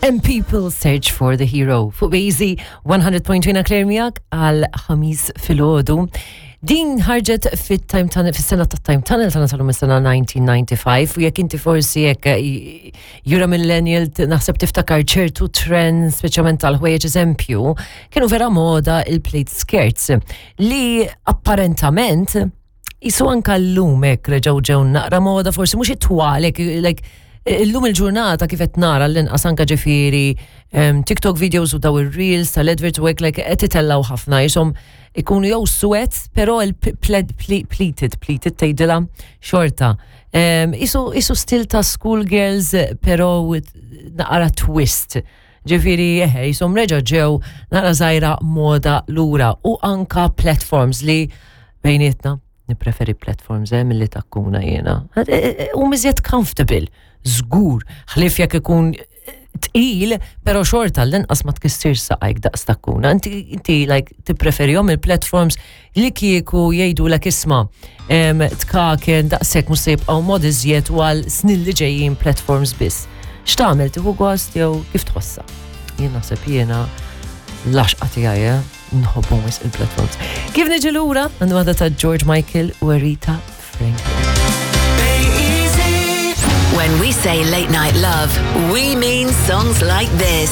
And people search for the hero. Fuq Bejzi 100.2 Claire miegħek għal ħamis filgħodu. Din ħarġet fit-time tunnel, fis-sena ta' time tunnel tagħna tal sena 1995 u jekk inti forsi jekk jura millennial naħseb tiftakar ċertu trends, speċjalment tal-ħwejjeġ eżempju, kienu vera moda il-plate skirts li apparentament Isu anka llum hekk reġgħu ġew naqra moda forsi mhux it-twal hekk like illum il-ġurnata kif qed nara l-inqas anka ġifieri TikTok videos u daw ir-reels tal-adverts u hekk like qed itellgħu ħafna jisom ikunu jew suwed però il-pleated pleated tgħidilha xorta. Isu isu stil ta' school girls però with naqra twist. Ġifieri eħe jisom reġa' ġew naqra żgħira moda lura u anka platforms li Bejnietna, nippreferi platforms eh, milli takkuna jiena. Eh, eh, u miżjed comfortable, żgur, ħlief jekk ikun tqil, pero xorta l-inqas ma tkissirx saqajk daqs takkuna. Inti, inti like, tippreferihom il-platforms li kieku jgħidu l isma' tkaken daqshekk mhux se jibqgħu mod iżjed u għal snin li ġejjin platforms biss. X'tagħmel tieħu gost jew kif tħossha? Jien naħseb jiena l-għaxqa tiegħi, eh? Nħobbhom wisq il-platforms. Kif niġi lura għandu għada ta' George Michael u Rita Franklin. When we say late night love, we mean songs like this.